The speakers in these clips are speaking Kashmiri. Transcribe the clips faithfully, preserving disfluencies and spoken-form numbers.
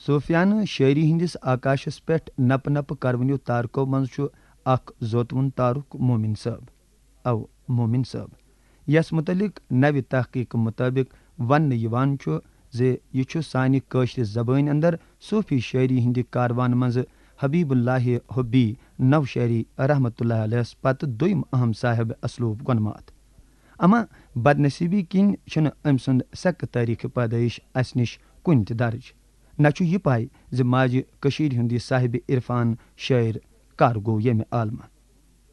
صوفیانہٕ شٲعری ہٕنٛدِس آکاشس پٮ۪ٹھ نپہٕ نپہٕ کرونیو تارکو منٛز چھُ اکھ زوتوُن تارُک مومن صٲب۔ او مومن صٲب، یس متعلق نوِ تحقیق مطٲبق وننہٕ یِوان چھُ زِ یہِ چھُ سانہِ کٲشرِ زبٲنۍ اندر صوفی شٲعری ہٕنٛدِ کاروان منٛزٕ حبیب اللہ حبی نوشہری رحمتہ اللہ علیہس پتہٕ دوٚیم اہم صاحب اسلوب گۄنماتھ۔ اما بدنصیبی کِنۍ چھُنہٕ أمۍ سُنٛد سکہٕ تٲریخ پیدٲیش اسہِ نِش کُنہِ تہِ درج۔ نہ چھُ یہِ پاے زِ ماجہِ کٔشیٖرِ ہُنٛد یہِ صاحب عرفان شٲعر کر گوٚو ییٚمہِ عالمہٕ۔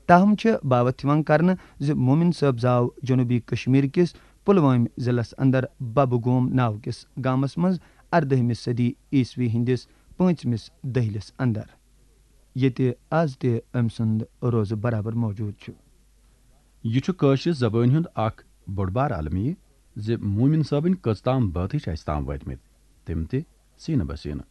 تاہم چھِ باوتھ یِوان کرنہٕ زِ مومن صٲب زاو جنوبی کشمیر کِس پلوٲمۍ ضلعس اندر ببہٕ گوم ناو کِس گامس منٛز اردٲہمہِ صدی عیسوی ہٕنٛدِس پٲنٛژمِس دٔہلِس اندر، ییٚتہِ از تہِ أمۍ سُنٛد روزٕ برابر موجود چھُ۔ یہِ چھُ کٲشرِ زبٲنۍ ہُنٛد اکھ بوٚڑ بار المیہ زِ مومن صٲبٕنۍ کٔژ تام بٲتھٕے چھِ اَسہِ تام وٲتمٕتۍ، تِم تہِ سینہٕ بہ سینہٕ۔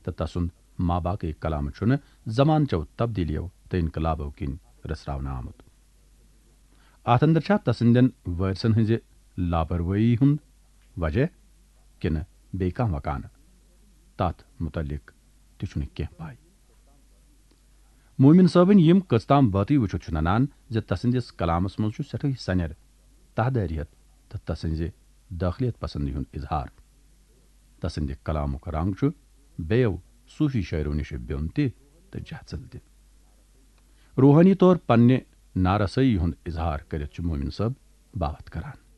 تہٕ تسُنٛد ما باقٕے کلام چھُنہٕ زمانہٕ چٮ۪و تبدیلیو تہٕ انقلابو کِنۍ رٔژھراونہٕ آمُت۔ اتھ اندر چھا تسٕنٛدٮ۪ن وٲرثن ہٕنٛزِ لاپروٲہی ہُنٛد وجہ کِنہٕ بیٚیہِ کانٛہہ وکانہٕ؟ تتھ متعلق تہِ چھُنہٕ کینٛہہ پاے۔ مومن صٲبٕنۍ یِم کٔژ تام بٲتٕے وٕچھِتھ چھُ ننان زِ تسٕنٛدِس کلامس منٛز چھُ سٮ۪ٹھٕے سنٮ۪ر، تہدٲریت تہٕ تسٕنٛزِ دٲخلیت پسندی ہُنٛد اظہار۔ تسٕنٛدِ کلامُک رنگ چھُ بیٚیو صوفی شٲعرو نِش بیوٚن تہِ تہٕ جہژل تہِ۔ روحٲنی طور پننہِ نارسٲیی ہُنٛد اظہار کٔرِتھ چھُ مومن صٲب باوتھ کران۔